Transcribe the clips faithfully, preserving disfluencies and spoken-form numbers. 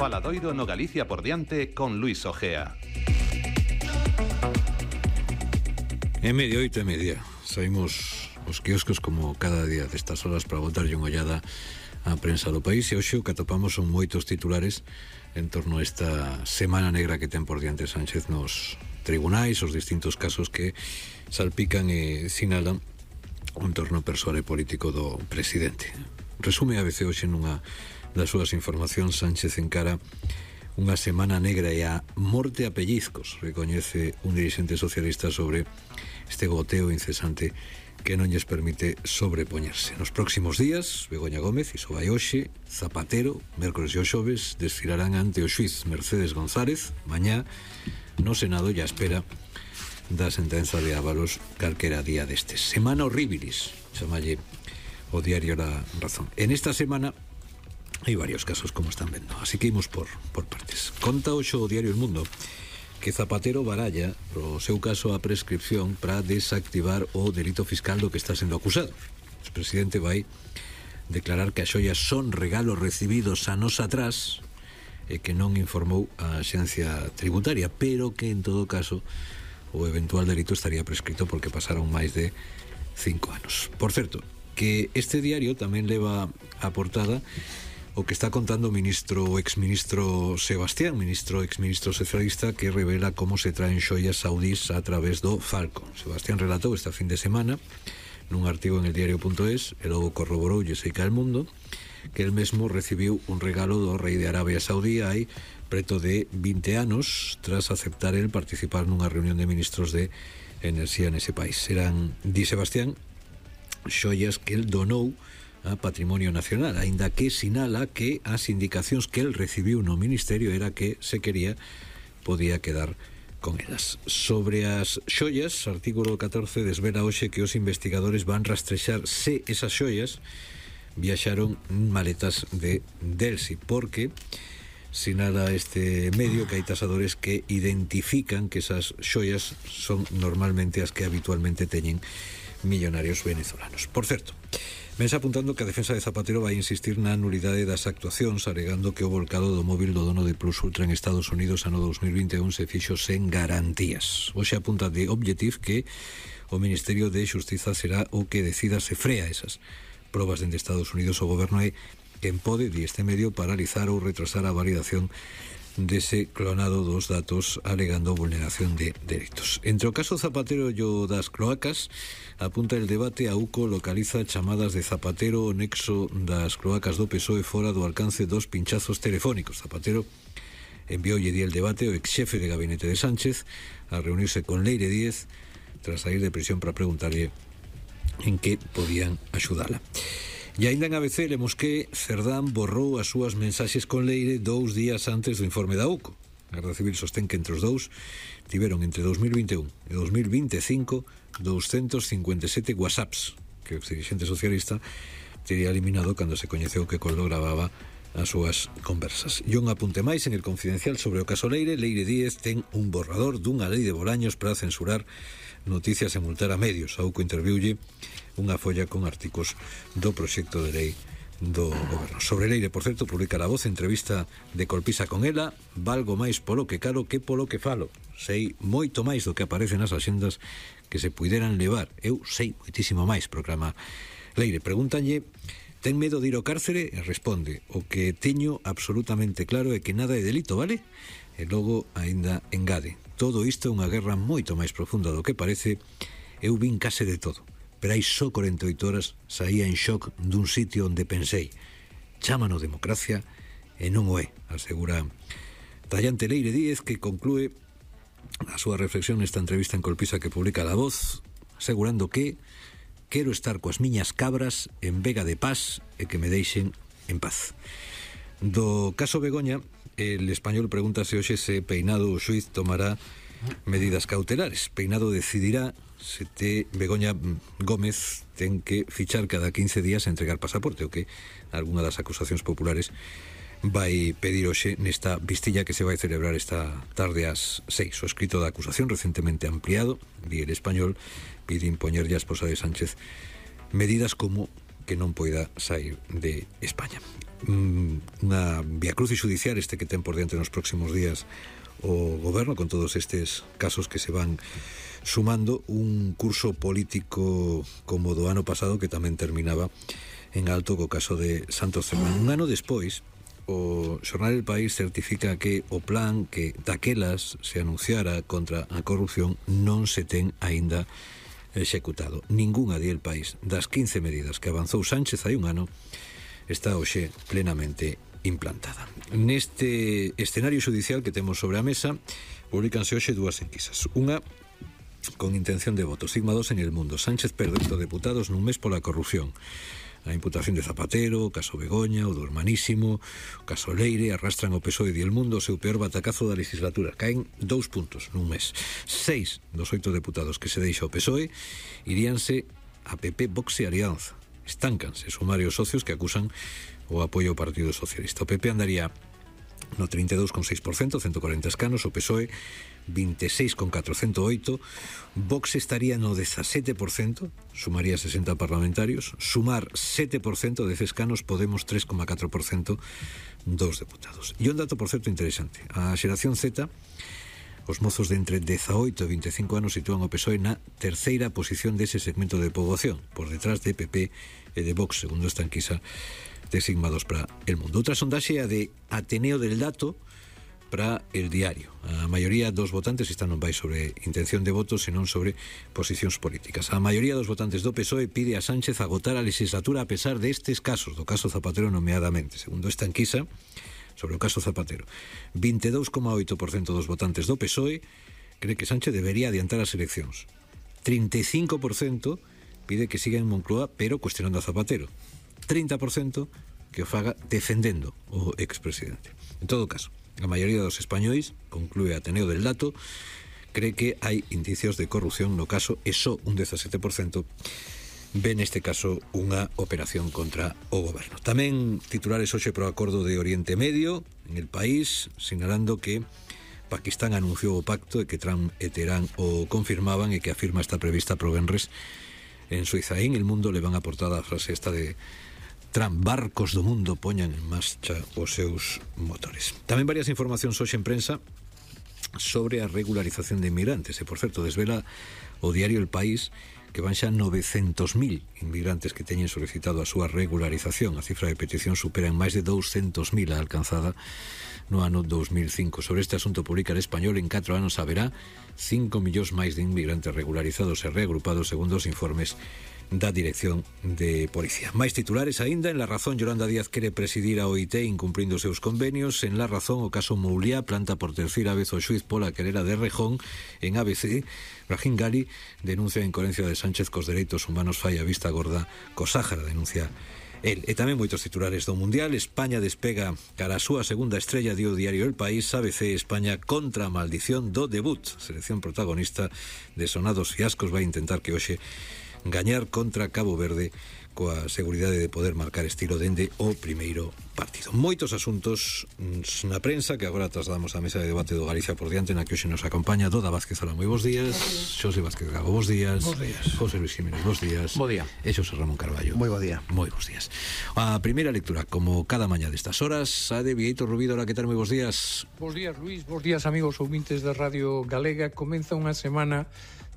Faladoiro no Galicia por diante con Luis Ojea. É media, oito e media. Saímos os quioscos como cada día destas horas para botarlle unha ollada á prensa do país, e hoxe o que atopamos son moitos titulares en torno a esta semana negra que ten por diante Sánchez nos tribunais, os distintos casos que salpican e sinalan o entorno persoal e político do presidente. Resume a veces hoxe nunha das súas informacións: Sánchez encara unha semana negra e a morte a pellizcos, recoñece un dirixente socialista sobre este goteo incesante que non lles permite sobrepoñerse. Nos próximos días, Begoña Gómez, iso vai hoxe, Zapatero, mércores e o xoves, desfilarán ante o xuiz Mercedes González, mañá no Senado, e a espera da sentenza de Ábalos calquera día destes. Semana horribilis, chamalle o diario La Razón. En esta semana hai varios casos, como están vendo, así que imos por, por partes. Conta hoxe o diario El Mundo que Zapatero baralla pro seu caso a prescripción para desactivar o delito fiscal do que está sendo acusado. O presidente vai declarar que as xoias son regalos recibidos anos atrás e que non informou a Axencia Tributaria, pero que en todo caso o eventual delito estaría prescrito porque pasaron máis de cinco anos. Por certo, que este diario tamén leva a portada o que está contando o ministro o exministro Sebastián, ministro exministro socialista, que revela como se traen xoias saudís a través do Falcon. Sebastián relatou esta fin de semana nun artigo en el diario punto es, e logo corroborou e seica el mundo, que el mesmo recibiu un regalo do rei de Arabia Saudí hai preto de vinte anos, tras aceptar el participar nunha reunión de ministros de enerxía nese país. Serán, di Sebastián, xoias que el donou a Patrimonio Nacional, aínda que sinala que as indicacións que el recibiu no ministerio era que, se quería, podía quedar con elas. Sobre as xoias, artículo catorce desvela hoxe que os investigadores van rastrexar se esas xoias viaxaron en maletas de Delsi, porque sinala este medio que hai tasadores que identifican que esas xoias son normalmente as que habitualmente teñen millonarios venezolanos. Por certo, vense apuntando que a defensa de Zapatero vai insistir na nulidade das actuacións, alegando que o volcado do móvil do dono de Plus Ultra en Estados Unidos ano dos mil vinte e un se fixo sen garantías. Hoxe apunta de Objective que o Ministerio de Xustiza será o que decida se frea esas probas dende Estados Unidos. O goberno é quen pode, di este medio, paralizar ou retrasar a validación dese clonado dos datos, alegando vulneración de dereitos. Entre o caso Zapatero e o das cloacas, apunta el debate, a U C O localiza chamadas de Zapatero o nexo das cloacas do P S O E fora do alcance dos pinchazos telefónicos. Zapatero envioulle di el debate o exxefe de gabinete de Sánchez a reunirse con Leire Díez tras sair de prisión para preguntarlle en que podían axudala. E ainda en A B C lemos que Cerdán borrou as súas mensaxes con Leire dous días antes do informe da U C O. A Garda Civil sostén que entre os dous tiveron entre dos mil vinte e un e dos mil vinte e cinco doscientos cincuenta e sete whatsapps que o dirixente socialista teria eliminado cando se coñeceu que Coldo gravaba as súas conversas. E un apunte máis en El Confidencial sobre o caso Leire. Leire Díez ten un borrador dunha lei de Bolaños para censurar noticias e multar a medios. A U C O interviulle unha folla con artigos do proxecto de lei do goberno. Sobre Leire, por certo, publica La Voz entrevista de Colpisa con ela: valgo máis polo que calo que polo que falo. Sei moito máis do que aparece nas axendas que se puideran levar. Eu sei moitísimo máis, proclama Leire. Pregúntanlle, ten medo de ir ao cárcere? E responde: o que teño absolutamente claro é que nada é delito, vale? E logo aínda engade: todo isto é unha guerra moito máis profunda do que parece. Eu vin case de todo, pero hai só corenta e oito horas saía en shock dun sitio onde pensei, chámano democracia e non o é, asegura tallante Leire Díez, que conclúe a súa reflexión nesta entrevista en Colpisa que publica La Voz, asegurando que quero estar coas miñas cabras en Vega de Paz e que me deixen en paz. Do caso Begoña, el Español pregúntase hoxe se Peinado o xuiz tomará medidas cautelares. Peinado decidirá se te Begoña Gómez ten que fichar cada quince días e entregar pasaporte, o que algunha das acusacións populares vai pedir hoxe nesta vistilla que se vai celebrar esta tarde ás seis. O escrito da acusación, recentemente ampliado, di El Español, pide impoñerlle a esposa de Sánchez medidas como que non poida sair de España. Unha viacrucis judicial este que ten por diante nos próximos días o goberno, con todos estes casos que se van sumando, un curso político como do ano pasado que tamén terminaba en alto co caso de Santos Cerdán. Un ano despois, o xornal El País certifica que o plan que daquelas se anunciara contra a corrupción non se ten aínda executado. Ninguna di El País das quince medidas que avanzou Sánchez hai un ano está hoxe plenamente implantada. Neste escenario judicial que temos sobre a mesa, publicanse hoxe dúas enquisas. Unha con intención de voto, Sigma dos en El Mundo. Sánchez perde oito deputados nun mes pola corrupción. A imputación de Zapatero, o caso Begoña, o do Hermanísimo, o caso Leire, arrastran o P S O E e El Mundo o seu peor batacazo da legislatura. Caen dous puntos nun mes. Seis dos oito deputados que se deixa o P S O E iríanse a P P, Vox e Alianza. Estáncanse sumarios socios que acusan o apoio ao Partido Socialista. O P P andaría no trinta e dous coma seis por cento, ciento corenta escanos, o P S O E vinte e seis coma catro, ciento oito, Vox estaría no dezasete por cento, sumaría sesenta parlamentarios, sumar sete por cento de escanos, Podemos tres coma catro por cento dos deputados. E un dato, por certo, interesante. A xeración Z, os mozos de entre dezaoito e vinte e cinco anos sitúan o P S O E na terceira posición dese segmento de poboación, por detrás de P P e de Vox, segundo esta enquisa de Sigma dos para El Mundo. Outra sondaxe a de Ateneo del Dato para El Diario. A maioría dos votantes están non vai sobre intención de voto, senón sobre posicións políticas. A maioría dos votantes do P S O E pide a Sánchez agotar a legislatura a pesar destes casos, do caso Zapatero nomeadamente. Segundo esta enquisa sobre o caso Zapatero, vinte e dous coma oito por cento dos votantes do P S O E cree que Sánchez debería adiantar as eleccións. trinta e cinco por cento pide que siga en Moncloa, pero cuestionando a Zapatero. trinta por cento que o faga defendendo o expresidente. En todo caso, a maioría dos españois, conclúe Ateneo del Dato, cree que hai indicios de corrupción no caso e só un dezasete por cento ve neste caso unha operación contra o goberno. Tamén titulares hoxe pro acordo de Oriente Medio en El País, sinalando que Pakistán anunciou o pacto e que Trump e Teherán o confirmaban e que a firma está prevista pro venres en Suiza. En El Mundo le van a portada a frase esta de Trump: barcos do mundo poñan en marcha os seus motores. Tamén varias informacións hoxe en prensa sobre a regularización de inmigrantes. E, por certo, desvela o diario El País que van xa novecentos mil inmigrantes que teñen solicitado a súa regularización. A cifra de petición supera en máis de douscentos mil a alcanzada no ano dos mil cinco. Sobre este asunto publica El Español: en catro anos haberá cinco millóns máis de inmigrantes regularizados e reagrupados, segundo os informes da Dirección de Policía. Máis titulares aínda. En La Razón, Yolanda Díaz quere presidir a O I T incumprindo os seus convenios. En La Razón, o caso Mouliá planta por terceira vez o xuiz pola querela de Rejón. En A B C, Brahim Gali denuncia a incoherencia de Sánchez cos dereitos humanos, fai a vista gorda co Sáhara, denuncia el. E tamén moitos titulares do Mundial. España despega cara a súa segunda estrella, dio o diario El País. A B C, España contra a maldición do debut. Selección protagonista de sonados fiascos vai intentar que hoxe gañar contra Cabo Verde coa seguridade de poder marcar estilo dende o primeiro partido. Moitos asuntos na prensa que agora trasladamos á mesa de debate do Galicia por diante, na que hoxe nos acompaña Doda Vázquez. Hola, moi bons días. Xosé Vázquez Gago, bons días. Bons días. José Luis Jiménez, bons días. Bo día. E Xosé Ramón Carballo. Moi bo día. Moi bons días. A primeira lectura, como cada mañá destas horas, a de Vieito Rubido. Hola, que tal? Moi bons días. Bos días, Luís. Bos días, amigos ouvintes da Radio Galega. Comeza unha semana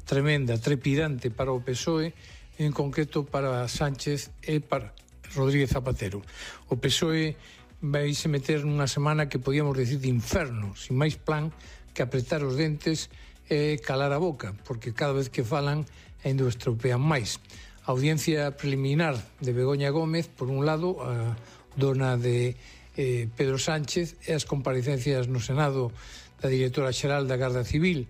tremenda, trepidante para o P S O E, en concreto para Sánchez e para Rodríguez Zapatero. O P S O E vai se meter nunha semana que podíamos decir de inferno, sin máis plan que apretar os dentes e calar a boca, porque cada vez que falan ainda o estropean máis. A audiencia preliminar de Begoña Gómez, por un lado, a dona de eh, Pedro Sánchez, e as comparecencias no Senado da directora xeral da Garda Civil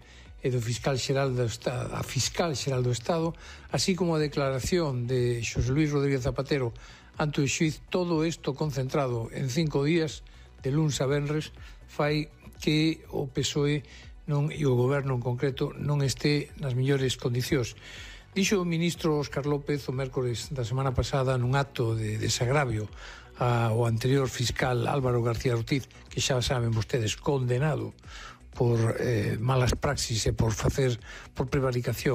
e do fiscal xeral do Estado, a fiscal xeral do Estado, así como a declaración de Xosé Luis Rodríguez Zapatero ante o xuiz, todo isto concentrado en cinco días, de luns a venres, fai que o P S O E non, e o goberno en concreto non este nas mellores condicións. Dixo o ministro Óscar López o mércores da semana pasada nun acto de desagravio ao anterior fiscal Álvaro García Ortiz, que xa saben vostedes, condenado por eh, malas praxis e por facer por prevaricación